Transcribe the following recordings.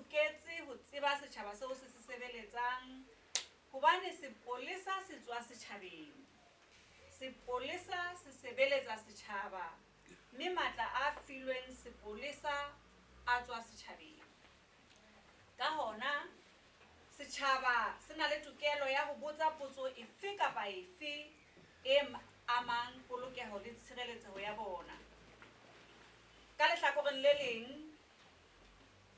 loketse ho tseba setjhaba seo se se sebeletsang hobane sepolesa se tswa setjhabeng. Sepolesa se sebeletsa setjhaba mme matla a filweng sepolesa a tswa setjhabeng. Ka hona, setjhaba se na le tokelo ya ho botsa potso efe kapa efe e amang polokeho le tshireletseho ya bona. Ka lehlakoreng le leng,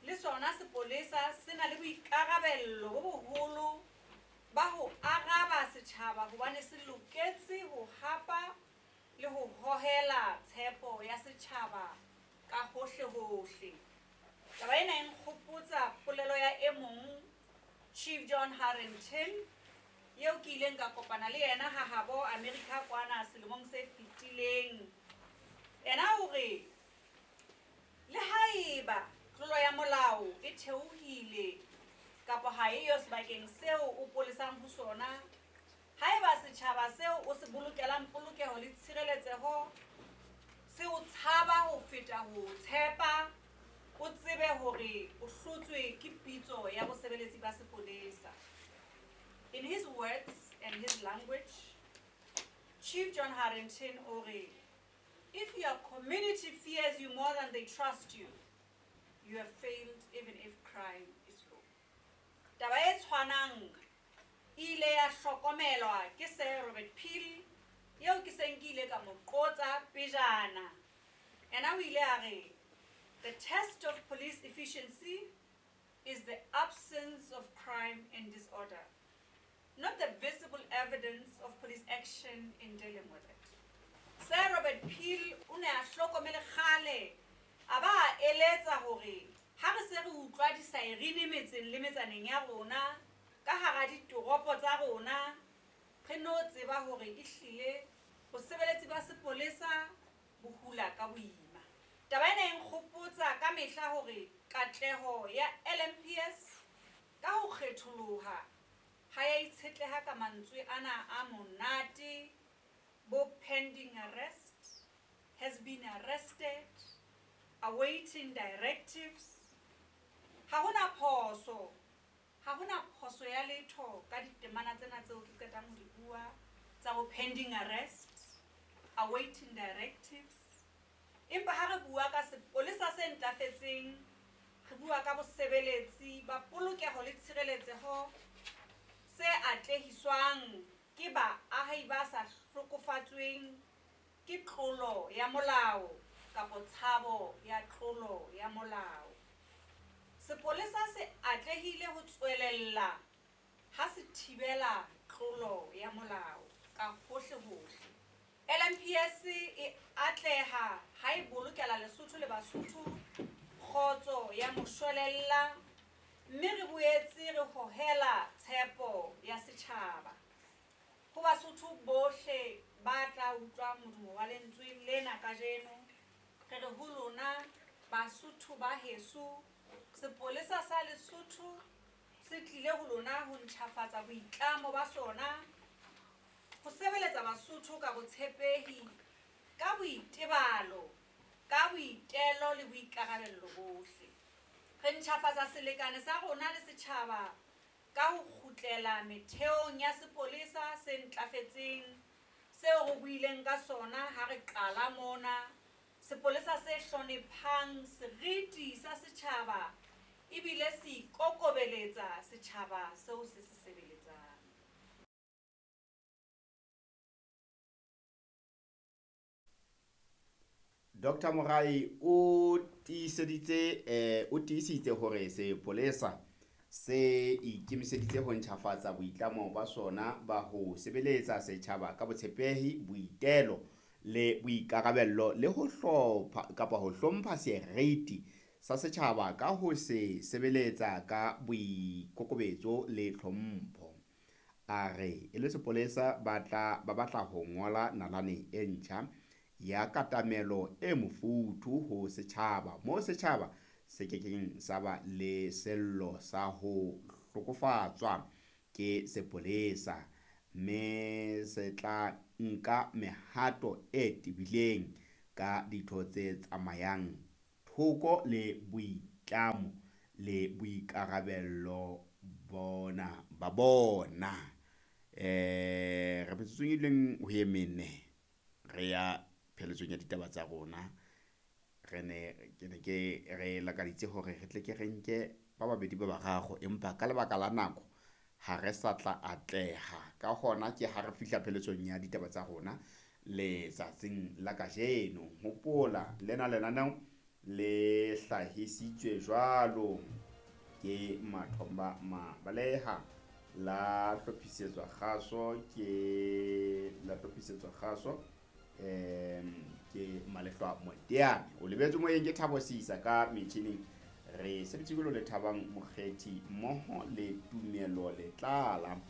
le sona sepolesa se na le boikarabello bo boholo ba ho araba setjhaba hobane se loketse ho hapa le ho hohela tshepo ya setjhaba ka hohlehohle. Taba ena e nkgopotsa polelo ya e mong, Chief John Harrington, eo ke ileng ka kopana le yena ha habo America kwana selemong se fetileng. Yena o re, le haeba tlolo ya molao e theohile kapa ha eyo sebakeng seo o polesang ho sona, haeba setjhaba seo o se bolokelang polokeho le tshireletseho se o tshaba ho feta ho tshepa, o tsebe hore o hlotswe ke pitso ya bosebeletsi ba sepolesa. In his words and his language, Chief John Harrington o re, if your community fears you more than they trust you, you have failed even if crime is low. Taba e tshwanang e ile ya hlokomelwa ke Sir Robert Peel, eo ke seng ke ile ka mo qotsa pejana. Yena o ile a re, the test of police efficiency is the absence of crime and disorder, not the visible evidence of police action in dealing with it. Sir Robert Peel o ne a hlokomele kgale, a ba a eletsa hore ha re se re utlwa disaerine metseng le metsaneng ya rona, ka hara ditoropo tsa rona, re no tseba hore ehlile bosebeletsi ba sepolesa bo hula ka boima. Taba ena e nkgopotsa ka mehla hore katleho ya LMPS ka ho kgetholoha ha ya itshetleha ka mantswe ana a monate, bo pending arrest, has been arrested, awaiting directives. Ha hona phoso, ha hona phoso ya letho ka ditemana tsena tseo ke qetang ho di bua tsa bo pending arrest, awaiting directives. Empa ha re bua ka sepolesa se ntlafetseng, re bua ka bosebeletsi ba polokeho le tshireletseho se atlehiswang ke baahi ba sa hlokofatsweng ke tlolo ya molao kapa tshabo ya tlolo ya molao. Sepolesa se atlehile ho tswelella ha se thibela tlolo ya molao ka hohlehohle. LMPS e atleha ha e bolokela Lesotho le Basotho kgotso ya moshwelella, mme re boetse re hohela tshepo ya setjhaba. Ho Basotho bohle ba tla utlwa modumo wa lentswe lena kajeno, re re ho lona Basotho ba heso, sepolesa sa Lesotho se tlile ho lona ho ntjhafatsa boitlamo ba sona, ho sebeletsa Basotho ka botshepehi, ka boitebalo, ka boitelo le boikarabello bohle. Re ntjhafatsa selekane sa rona le setjhaba ka ho kgutlela metheong ya sepolesa se ntlafetseng seo re buileng ka sona ha re qala mona, sepolesa se hlonephang seriti sa setjhaba ebile se ikokobeletsa setjhaba seo se se sebeletsang. Dr. Morai o tiiseditse o tiisitse hore sepolesa se ikemiseditse ho ntjhafatsa boitlamo ba sona ba ho sebeletsa setjhaba ka botshepehi, boitelo le boikarabello le ho hlopha kapa ho hlompha seriti sa setjhaba ka ho se sebeletsa ka boikokobetso le tlhompho. A re e le sepolesa ba batla ho ngola nalane e ntjha ya katamelo e mofuthu ho setjhaba, moo setjhaba se kekeng sa ba le sello sa ho hlokofatswa ke sepolesa, mme se tla nka mehato e tebileng ka ditho tse tsamayang thoko le boitlamo le boikarabello bona ba bona. Re metsotsong e leng ho e mene re ya pheletsong ya ditaba tsa rona. Re ne ke ne ke re lakaditse hore re tle ke re nke ba babedi ba bararo, empa ka lebaka la nako ha re sa tla atleha. Ka hona ke ha re fihla pheletsong ya ditaba tsa rona letsatsing la kajeno. Hopola lena lenaneo le hlahisitswe jwalo ke Mathomba Mabaleha, la hlophisetswa kgaso ke la hlophisetswa kgaso ke Malehlwa Moteane. O lebetse moyeng ke Thabo Sisa ka metjhining. Re sebeditse jwalo le Thabang Mokgethi mmoho le Tumelo Letlala.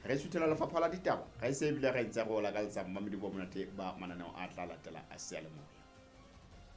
Re suthela lefapha la ditaba, re se ebile re ntse re o lakaletsa mmamedi bo monate ba mananeo a tla latela a seyalemoya.